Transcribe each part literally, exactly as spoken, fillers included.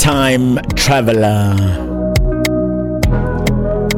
Time Traveler,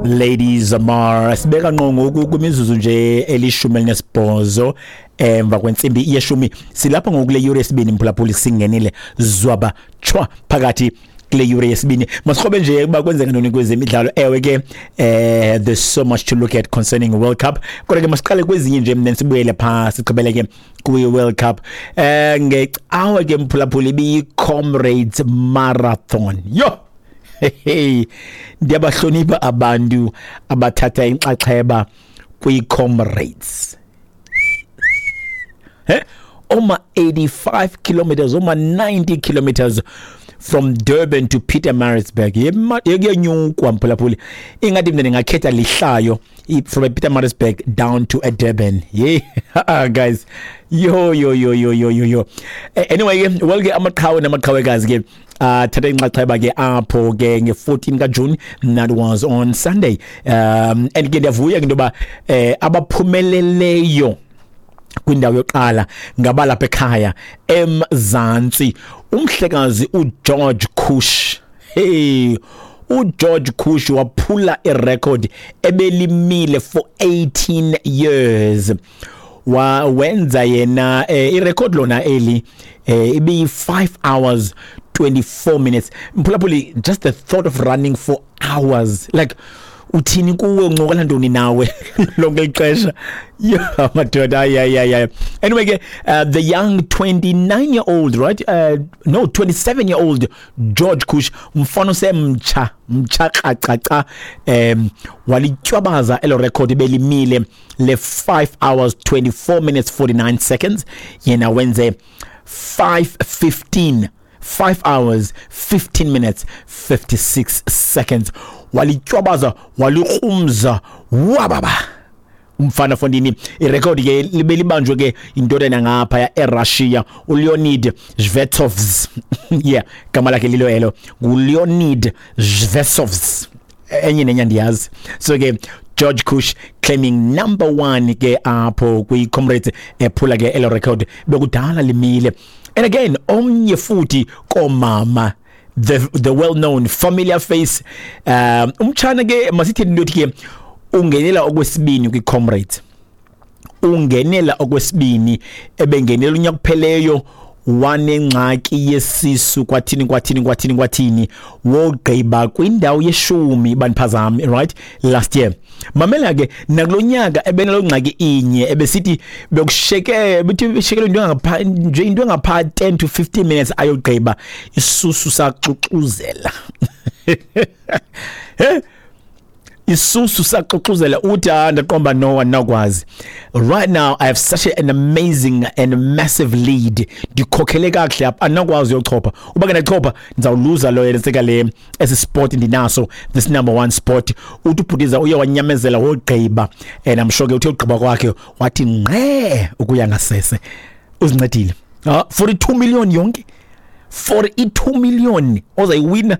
Lady Zamar. Sibeka ngqo ngoku kwimizuzu nje elishumi elinesibhozo emva kwentsimbi yeshumi. Silapha ngoku kule yure yesibini, mphulaphuli. Singenile zwaba chwa phakathi kule yure yesibini. Masikrobe nje ukuba kwenzeka ntoni kwezemidlalo. Ewe ke, eh there's so much to look at concerning World Cup, kodwa ke masiqale kwezinye nje, then sibuyele phaa, sigqibele ke kwi-World Cup. eh ngecawe ke, mphulaphuli, ibiyi-Comrades Marathon. Yo hey, ndiyabahlonipha abantu abathatha inxaxheba kwi-Comrades, he oma eighty-five kilometers, oma ninety kilometers from Durban to Pietermaritzburg. Yekuyenyukwa, mphulaphuli. Ingathi mina ndingakhetha lihlayo from Pietermaritzburg down to Durban. Yeah guys, yo yo yo yo yo yo yo. Anyway ke, well ke, amaqhawe namaqhawekazi ke athatha inxaxheba ke apho ke nge-fourteen kaJune. That was on Sunday. um and ke ndiyavuya ke into yoba eh abaphumeleleyo kwindawo yokuqala ngabalapha ekhaya eMzantsi, umhlekazi uGeorge Kush. Hey, uGeorge Kush waphula irecord ebelimile for eighteen years. Wa wenza yena eh, irecord lona eli eh, ibi five hours twenty-four minutes. Mphulaphuli, just the thought of running for hours, like, uthini kuwe? Uncokola ntoni nawe lonke ixesha? Yo madoda, hayi hayi hayi. Anyway ke, uh, the young twenty-nine year old, right, uh, no, twenty-seven year old George Kush, mfana semtsha mtsha kracaca, um walitywabaza elo record belimile le five hours twenty-four minutes forty-nine seconds. Yena wenze five fifteen, five hours fifteen minutes fifty-six seconds. Walitywabaza, walikrumza, wababa umfana fondini. Irekhodi ke libe libanjwe ke indodana ngapha eRussia, uLeonid Shvetsovs. Yeah, gama lakhe lilo elo, nguLeonid Shvetsovs. Enye nenye andiyazi. So ke George Kush claiming number one ke apho kwi-Comrades, ephula ke elo record bekudala limile. And again, omnye futhi komama, the the well known familiar face, um umtshana ke, masithi into ke ungenela okwesibini kwi-Comrades, ungenela okwesibini. Ebengenela unyaka kupheleyo, wanengxaki yesisu, kwathini kwathini kwathini kwathini, wogqiba kwindawo yeshumi, bandiphazami, right, last year. Mamela ke, nakulonyaka ebenalo ngxaki inye, ebesithi bekusheke, bethi beshekele into engapha nje, into engapha ten to fifteen minutes ayogqiba, isusu saxuxuzela. He isusu saxuxuzela. Uthi, "Ah, ndaqomba no, andinawukwazi. Right now I have such an amazing and massive lead, ndikhokhele kakuhle apha, andinawukwazi uyochopha. Uba ke ndachopha, ndizawuluza lo yenseka le esi spot ndinaso, this number one spot." Uthi ubhutiza uye wanyamezela, wogqiba, and I'm sure ke uthe ugqiba kwakhe wathi ngqe ukuya ngasese. Uzincedile. Ah, forty-two million yonke, forty-two million ozayiwina.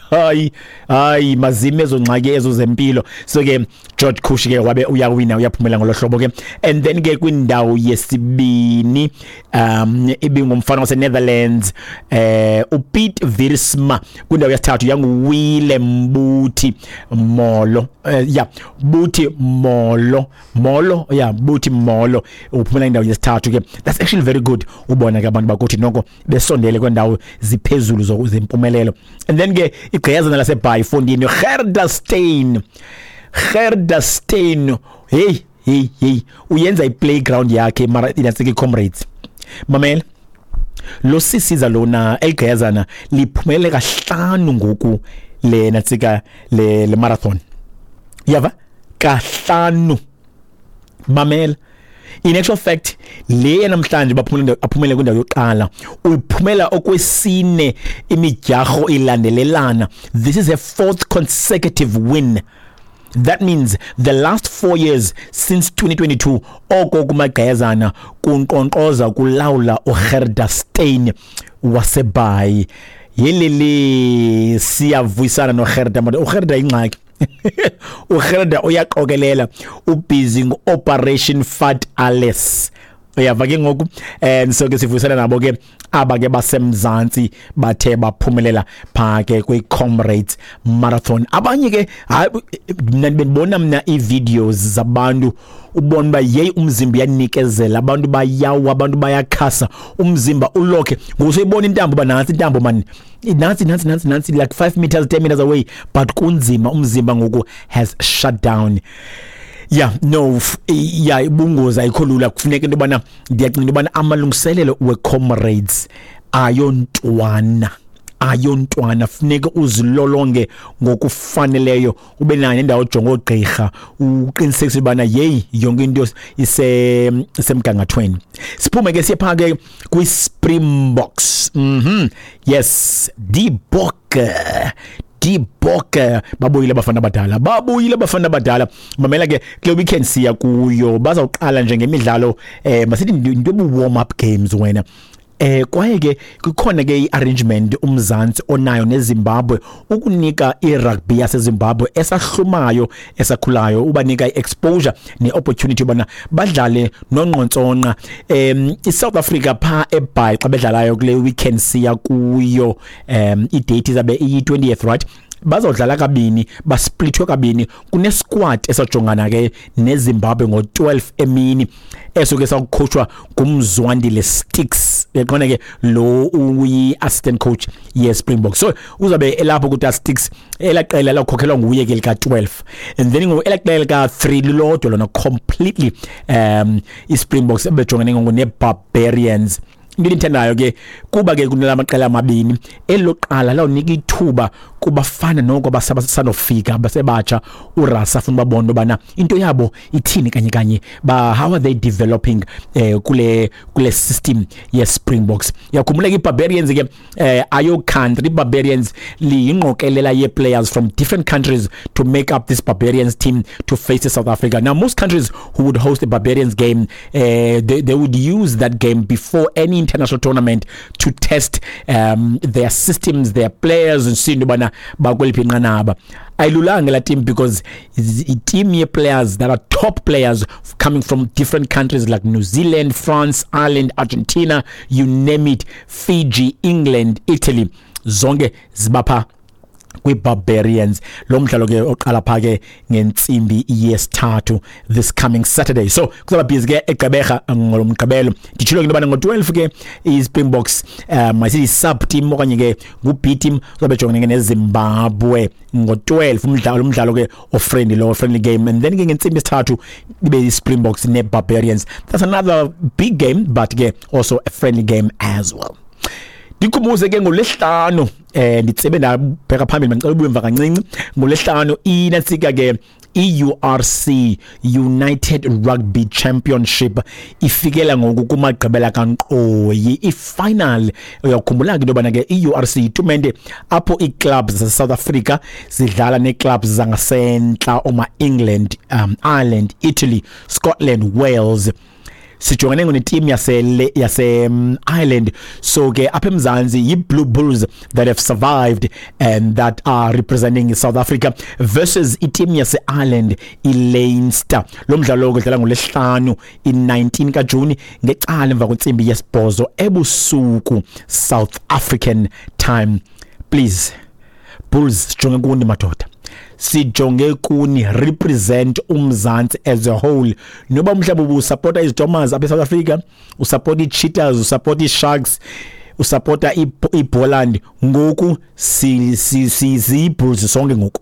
Hayi hayi, mazime ezo ngxaki ezo zempilo. So ke George Kush ke wabe uyawina, uyaphumela ngolo hlobo ke. And then ke kwindawo yesibini um ibingumfana wase Netherlands, eh uPiet Wiersma. Kwindawo yesithathu yanguWillem Buti Molo, eh, yeah, Buti Molo Molo, yeah, Buti Molo uphumela indawo yesithathu ke. That's actually very good, ubona ke abantu bakuthi noko besondele kwendawo ziphezulu zempumelelo. And then ke igqiyazana laseBhayi fondini, Gerda Steyn. Gerda Steyn, hey hey hey, uyenza i-playground yakhe mara inasike Comrades. Mamela lo sisiza lona, eligqiyazana liphumele kahlanu ngoku le natsika le, le marathon, yava kahlanu. Mamela, in actual fact le namhlanje baphumele, aphumele kwindawo yokuqala, uphumela okwesine imidyarho ilandelelana. This is a fourth consecutive win. That means the last four years since twenty twenty-two, oko kumagqezana kunkqonkqoza, kulawula uGerda Steyn waseBhayi. Yelele, siyavuyisana noGerda manje. UGerda ingxaki, uGerda uyaqokelela, ubusy ngo-Operation Fat Alice. Uyava ke ngoku, and so ke sivuyisana nabo ke aba ke basemzantsi bathe baphumelela pha ke kwi-Comrades Marathon. Abanye ke, hayi, mna bendibona mna ii-videos zabantu, ubona uba yeyi, umzimba uyanikezela, abantu bayawa, abantu bayakhasa, umzimba ulokhe ngoku soyibona intambo uba nantsi intambo mani, nantsi nantsi nantsi nantsi, like five meters, ten meters away, but kunzima, umzimba ngoku has shut down. Yeah, no, yeah, ibungozi, ayikho lula. Kufuneka into yobana, ndiyacinga into yobana amalungiselelo we-Comrades ayontwana ayontwana funeka uzilolonge ngokufaneleyo, ube nayo nendawo ojonga oogqirha, uqinisekise ubana yeyi, yonke into ise isemgangathweni. Siphume ke siye phaa ke kwi-Springboks. mhm yes die Bokke, die Bokke babuyile abafana abadala, babuyile abafana abadala. Mamela ke, kule weekend siya kuyo bazawuqala nje ngemidlalo, eh masithi into ebu-warm up games wena. Eh kwaye ke kukhona ke iarrangement uMzantsi onayo neZimbabwe ukunika irugby yaseZimbabwe esahlumayo, esakhulayo, ubanika iexposure neopportunity ubana badlale nonqontsonqa em iSouth Africa pha eBhayi xa bedlalayo kule weekend siya kuyo. em idate izabe iyi-twentieth, right? Bazodlala kabini, basplithwe kabini. Kune-squad esajongana ke neZimbabwe ngo-twelve emini, eso ke sawucoachwa nguMzwandile Sticks, yaqona ke lo uyi-assistant coach ye-Springbok, so uzabe elapho kuta Sticks. Elaqela lakhokhelwa nguye ke lika-twelve, and then ngoku elaqela lika-three lilodwa lona completely, um i-Springboks ebejongene ngoku ne-Barbarians. Into endiyithandayo ke kuba ke kunala maqela amabini, eloqala lawunika ithuba kubafana noko abasandofika, basebatsha, uRassie afuna ubabona ubana into yabo ithini kanye kanye, ba how are they developing eh kule kule system ye Springboks. Yakhumbula ke iBarbarians ke eh ayo country, iBarbarians liyingqokelela ye players from different countries to make up this Barbarians team to face South Africa. Now most countries who would host the Barbarians game, uh, they, they would use that game before any international tournament to test um, their systems, their players, and see into yobana bakweliphi inqanaba. Ayilulanga la team because i-team ye-players that are top players coming from different countries like New Zealand, France, Ireland, Argentina, you name it, Fiji, England, Italy, zonke zibapha kwi-Barbarians. Lo mdlalo ke oqala pha ke ngentsimbi yesithathu this coming Saturday, so kuzaba busy ke eGqeberha ngolomgqibelo. Nditshilo ke into yobana ngo-twelve ke i-Springboks, um masithi sub team okanye ke ngu-B team, uzabe jongene ke neZimbabwe ngo-twelve, umdlalo umdlalo ke ofriendly lo, friendly game, and then ke ngentsimbi yesithathu ibe i-Springboks ne-Barbarians. That's another big game, but ke also a friendly game as well. Ndikhumbuze ke ngolesihlanu, eh nditsebe ndabheka phambili, mandicela ubuye emva kancinci. Ngolesihlanu inantsika ke i-U R C, United Rugby Championship, ifikela ngoku kumagqibela kankqoyi, ifinal. Uyakhumbula ke into yobana ke i-U R C itumente apho ii-clubs zase-South Africa zidlala nee-clubs zangasentla, oma-England, um, Ireland, Italy, Scotland, Wales. Sijongene neteam yase yase um, Ireland. So ke apha eMzantsi yi-Blue Bulls that have survived and that are representing South Africa versus iteam yase Ireland, iLeinster. Lo mdlalo udlala ngolesihlanu i-nineteen kaJuni ngecala emva kwentsimbi yesibhozo ebusuku, South African time. Please Bulls, sijonge kuni madoda, sijonge kuni, represent uMzantsi as a whole. Noba mhlawumbe ubusupporta iZitomers apha eSouth Africa, usupporta iCheetahs, usupporta iSharks, usupporta iBoland, ngoku si si siyi-Bulls sonke ngoku,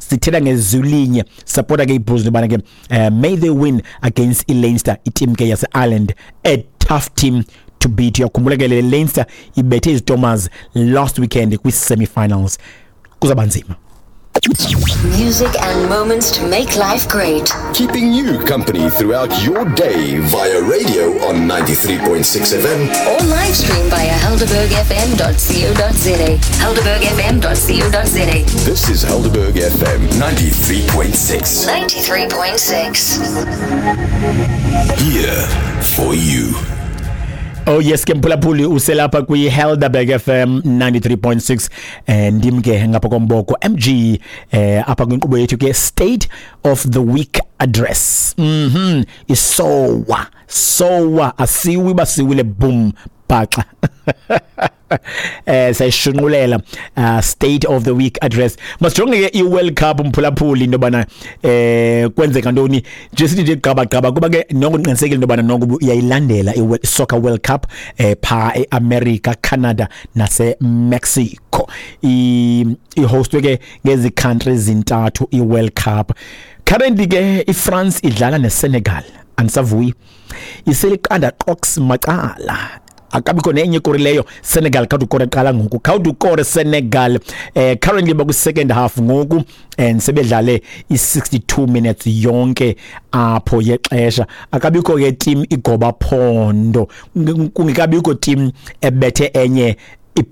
sithetha ngezulinye. Supporta ke iBulls nobana ke uh, may they win against iLeinster, iteam ke yase-Ireland, a tough team to beat. Uyakhumbula ke le Leinster ibethe iZitomers last weekend kwi-semi-finals. Kuzaba nzima. Music and moments to make life great. Keeping you company throughout your day via radio on ninety-three point six F M. Or live stream via helderberg F M dot co dot za. helderberg F M dot co dot za. This is Helderberg F M ninety-three point six. ninety-three point six. Here for you. Oh yes ke mphulaphuli, uselapha kwi-Helderberg F M ninety-three point six, eh ndim ke ngapha komboko M G, eh apha kwinkqubo yethu ke State of the Week Address. mhm isowa sowa asiwi basiwile boom bhaxa, eh sayishunqulela uh, State of the Week Address. Masijonge ke i-World Cup, mphulaphuli, into yobana eh kwenzeka ntoni nje, sithi nje gqaba gqaba, kuba ke noko ndiqinisekile into yobana noko uyayilandela i-Soccer World Cup eh pha e-America, Canada nase-Mexico. I-hostwe ke ngezi countries zintathu i-World Cup. Currently ke iFrance idlala neSenegal, andisavuyi, iseliqanda qox macala, akabikho nenye ikorileyo. Senegal khawuthi ukore qala ngoku, khawuthi ukore Senegal. eh currently baku second half ngoku and sebedlale i-sixty-two minutes yonke apho yexesha. Akabikho ke team igoba phondo, kungekabikho team ebethe enye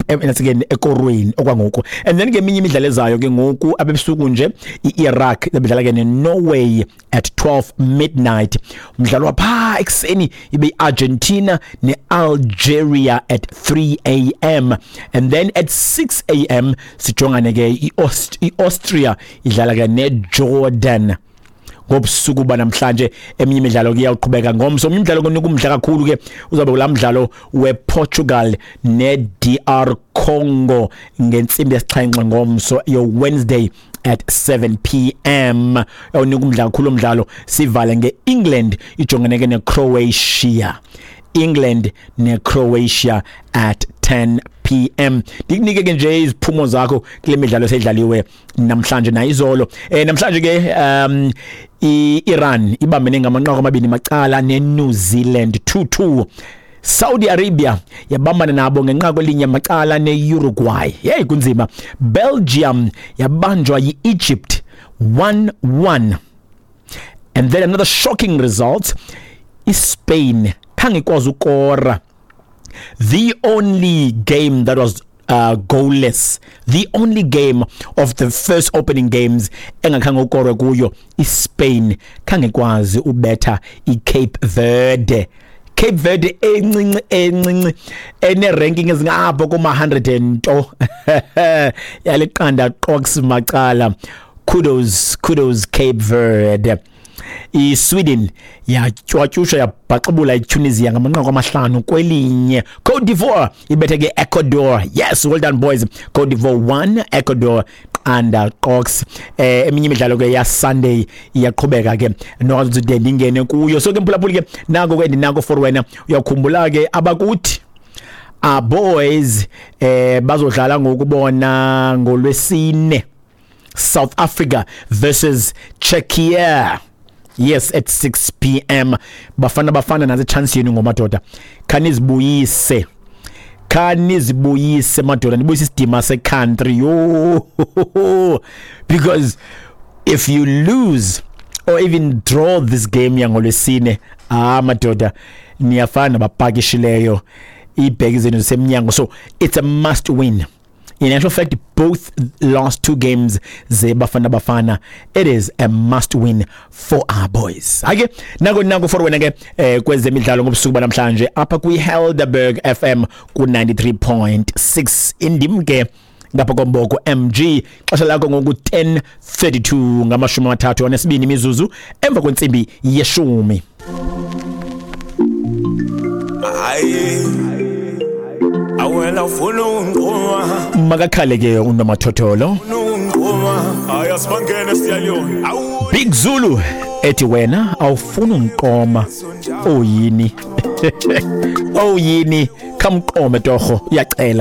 nasike ekorweni okwangoku. And then ke eminye imidlalo ezayo ke ngoku abebusuku nje, i-Iraq bedlala ke ne-Norway at twelve midnight. Umdlalo wapha ekuseni ibe i-Argentina ne-Algeria at three a m, and then at six a m sijongane ke i-Austria idlala ke ne-Jordan ngobusuku banamhlanje. Eminye imidlalo ke iyawuqhubeka ngomso. Omnye umdlalo konika umdla kakhulu ke uzabe kulaa mdlalo wePortugal ne-D R Congo ngentsimbi yesixhenxe ngomso, yo Wednesday at seven p m. Awunika umdla kakhulu umdlalo. Sivale ngeEngland ijongene ke neCroatia, England neCroatia at ten p m. Ndikunike ke nje iziphumo zakho kule midlalo eseyidlaliwe namhlanje nayizolo. eh namhlanje ke um iIran ibambene ngamanqaku amabini macala neNew Zealand, two two. Saudi Arabia yabambana nabo ngenqaku elinye macala neUruguay. Hey, kunzima. Belgium yabanjwa yiEgypt, one one. And then another shocking result, iSpain khange ikwazi ukora. The only game that was uh, goalless, the only game of the first opening games engakhange ukorwe kuyo, iSpain khange ikwazi ubetha iCape Verde. Cape Verde encinci encinci ene ranking ezingapho kuma hundred and nto, yaliqanda qox macala. Kudos, kudos Cape Verde. iSweden yatywatyusha, yabhaxibula iTunisia ngamanqaku amahlanu kwelinye. Cote d'Ivoire ibethe ke Ecuador. Yes, well done boys. Cote d'Ivoire one, Ecuador qanda qox. eh eminye imidlalo ke ya Sunday iyaqhubeka ke, nokuthi ndingene kuyo. So ke mphulaphuli ke, nako ke ndinako for wena. Uyakhumbula ke abakuthi our boys eh bazodlala ngokubona ngolwesine, South Africa versus Czechia, yes, at six p m. Bafana Bafana, nazi chance yenu ngomadoda, khanizibuyise, khanizibuyise madoda, nibuyise isidima se-country yo, because if you lose or even draw this game yangolwesine, ah madoda, niyafana nabapakishileyo iibheki zenu zisemnyango. So it's a must win. In actual fact, both last two games zeBafana Bafana, it is a must win for our boys. Ake nako nako for wena ke eh kwezemidlalo ngobusuku banamhlanje apha kwi Helderberg F M ku ninety-three point six. Indim ke ngapha komboko M G. Xesha lakho ngoku ten thirty-two, ngamashumi amathathu anesibini imizuzu emva kwentsimbi yeshumi. Hayi, awena ufuna ungiqoma. Makakhale ke unomathotholo. Ungiqoma, hayi, asibangene siyaliyona, awu. Big Zulu ethi wena awufuna ungiqoma, oyini oyini, khamqome torho, uyacela.